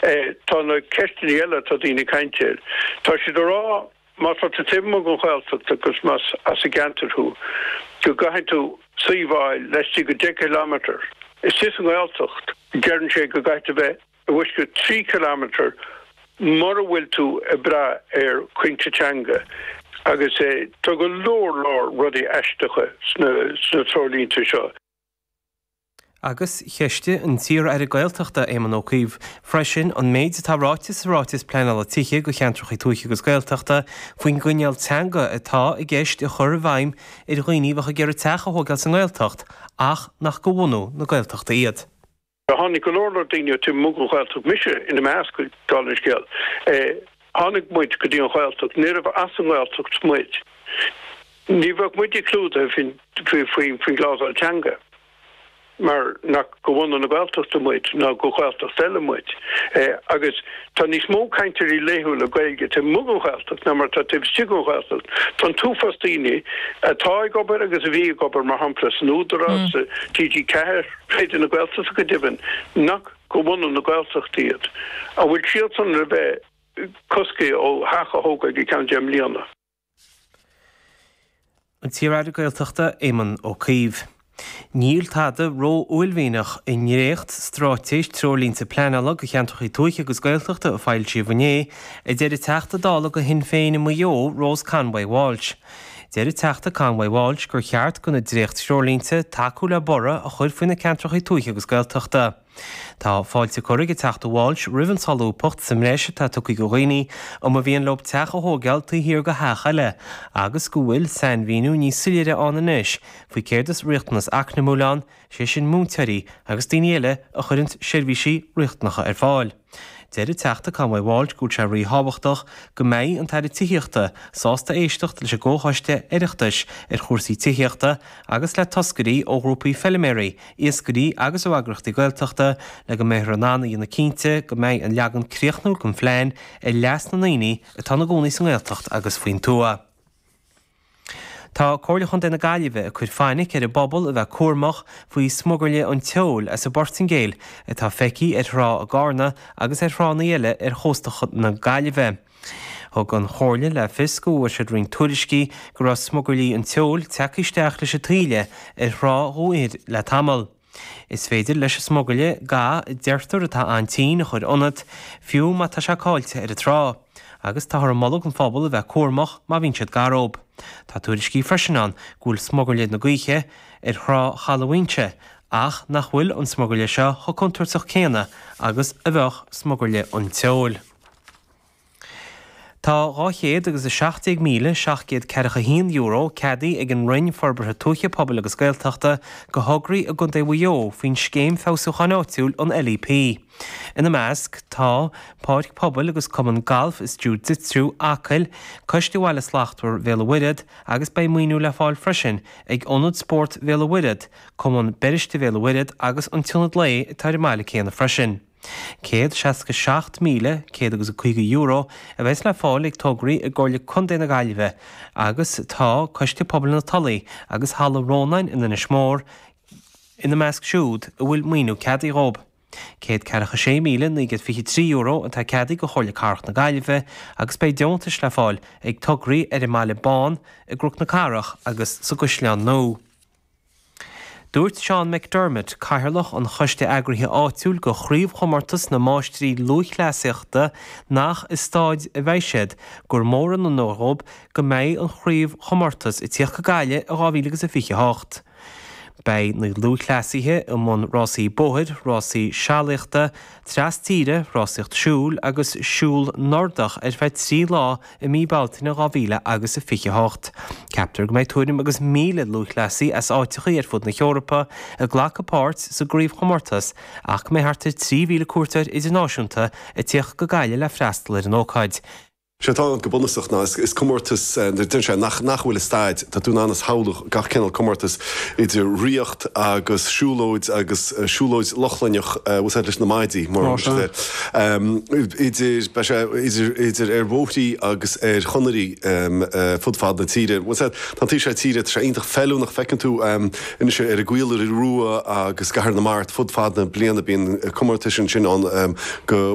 Tá na ceisteanna eile atá daoine ag caint air. Tá siad ag rá má tá tú taobh amuigh den Ghaeltacht agus más as an gceantar thú, go gcaithfidh tú suíomh a fháil laistigh de 10 kilometre. Istigh sa nGaeltacht, deireann sé go gcaithfidh tú bheith i bhfoisceacht 3 kilometre mura bhfuil tú ag brath ar choinche teanga agus tá go leor leor rudaí aisteacha sna treoirlínte seo. Agus cheistigh an t-iar-aire Gaeltachta Éamon Ó Cuív freisin an méid atá ráite sa ráiteas pleanála tithe do cheantracha tuaithe agus Gaeltachta faoin gcoinníoll teanga atá i gceist a chur i bhfeidhm ar dhaoine a bheadh ag iarraidh teach a thógáil sa nGaeltacht ach nach de bhunú na Gaeltachta iad. Tháinig go leor leor daoine ó taobh amuigh den Ghaeltacht, mise ina measc, dála an scéil. Tháinig muid go dtí an Ghaeltacht, níorbh as an nGaeltacht muid. Ní bheadh muide clúdaithe faoin gclásal teanga mar nach de bhunadh na Gaeltachta muid ná de Ghaeltacht eile muid. Agus tá níos mó cainteoirí laethúla Gaeilge taobh amuigh den Ghaeltacht ná mar atá taobh istigh den Ghaeltacht. Tá an t-uafás daoine atá ag obair agus a bhí ag obair, mar shampla, san Údarás, sa TG4, Raidió na Gaeltachta go deimhin, nach de bhunadh na Gaeltachta iad. An bhfuil siadsan le bheith cosctha ó theach a thógáil go ceann 10 mbliana? An t-iar-aire Gaeltachta Éamon Ó Cuív. Níl tada ró-uaillmhianach i ndréacht-straitéis treoirlínte pleanála do cheantracha tuaithe agus Gaeltachta a foilsíodh inné, a deir an Teachta Dála do Shinn Féin i Maigh Eo, Rose Conway Walsh. Deir an Teachta Conway Walsh gur cheart do na dréacht-threoirlínte tacú le borradh a chur faoi na ceantracha tuaithe agus Gaeltachta. Tá fáilte curtha ag an Teachta Walsh roimh an tsolúbthacht sa mbreis atá tugtha do dhaoine a mba mhian leo teach a thóigeáil taobh thiar de theach eile agus go bhfuil sainmhíniú níos soiléire ann anois faoi céard is riachtanas eacnamúil ann, sé sin múinteoirí agus daoine eile a chuireanns seirbhísí riachtanacha ar fáil. Deir an Teachta Conway Walsh go bhfuil sé ríthábhachtach go mbeidh an tAire Tithíochta sásta éisteacht leis an gComhchoiste Oireachtais ar chúrsaí tithíochta agus le toscairí ó ghrúpaí feiliméaraí, iascairí agus ó eagraíochtaí Gaeltachta le go mbeifear in ann a dhéanamh cinnte go mbeidh an leagan críochnúil den phlean ar leas na ndaoine atá ina gcónaí sa nGaeltacht agus faoin tuath. Tá Comhairle Chontae na Gaillimhe ag cur fainic ar an bpobal a bheith cúramach faoi smugairle an tseoil as an bPortaingéil atá feicthe ar thrá i gCarna agus ar thránna eile ar chósta na Gaillimhe. Thug an Chomhairle le fios go bhfuair siad roinnt tuairiscí go raibh smugairlí an tseoil tagtha isteach leis an taoille ar thrá Dhún Oighir le tamall. Is féidir leis an smugairle ga a deirtear atá an-tinn a chur ionat, fiú má tá sé caillte ar an trá. Agus táthar ag moladh don phobal a bheith cúramach má bhíonn siad gar dóibh. Tá tuairiscí freisin ann go bhfuil smugairle na gaoithe ar thrá Chaladh Mhaínse ach nach bhfuil an smugairle seo chomh contúirteach céanna agus a bheadh smugairle an tseoil. Tá €217,741 ceadaithe ag an Roinn Forbartha Tuaithe, Pobail agus Gaeltachta do thograí i gContae Mhaigh Eo faoin Scéim Feabhsúcháin Áitiúil, an LEP. Ina measc tá, Páirc Pobail agus Cumann Gailf is Jú Jitsu Acaill, Coiste Bhaile Slachtmhar Bhéal an Mhuirthead agus beidh maoiniú le fáil freisin ag Ionad Spóirt Bhéal an Mhuirthead, Cumann Beiriste Bhéal an Mhuirthead agus an tIonad Lae atá ar an mbaile céanna freisin. €167,100 agus €50 a bheas le fáil ag tograí i gComhairle Contae na Gaillimhe agus tá Coiste Pobail na Tulaí agus Halla Rónáin in Inis Mór ina measc siúd a bhfuil maoiniú ceadaithe dhóibh. €146,923 atá ceadaithe do Chomhairle Cathrach na Gaillimhe agus beidh deontais le fáil ag tograí ar an mBaile Bán, i gCnoc na Cathrach agus sa gCaisleán Nua. Dúirt Seán McDermott, Cathaoirleach an Choiste Eagraithe Áitiúil do Chraobhchomórtas na Máistrí Lúthchleasaíochta nach i staid a bheidh siad, gur mór an onóir dhóibh go mbeidh an chraobhchomórtas ag tíocht go Gaillimh i 2028. Beidh na lúthchleasaithe i mbun rásaí bóthair, rásaí sealaíochta, tras tíre, rásaíocht siúil agus siúl Nordach ar feadh 3 lá i mí Bealtaine 2000 agus a 28. Ceaptar go mbeidh tuairim agus 1,000 lúthchleasaí as áiteachaí ar fud na hEorpa ag glacadh páirt sa gcraobhchomórtas ach go mbeidh thart ar 3,000 cuairteoir idirnáisiúnta ag tíocht go Gaillimh le freastal ar an ócáid. Sé atá ann go bunúsach ná is comórtas, deireann sé, nach nach bhfuil i staid, tá tú in ann a shamhlú gach cineál comórtas idir ríocht agus siúlóid agus siúlóid Lochlainnech, bhfuil a fhios agat leis na maidí mar idir, beidh sé idir, idir ar bhóithrí agus ar chonairí fud fad na tíre. Bhfuil a fhios agat, tá an taobh seo tíre, tá sé iontach feiliúnach, feiceann tú anois ar an gCaola Rua agus gCathair na Mart fud fad na bliana, bíonn comórtais ansin ann go, bhfuil a fhios agat.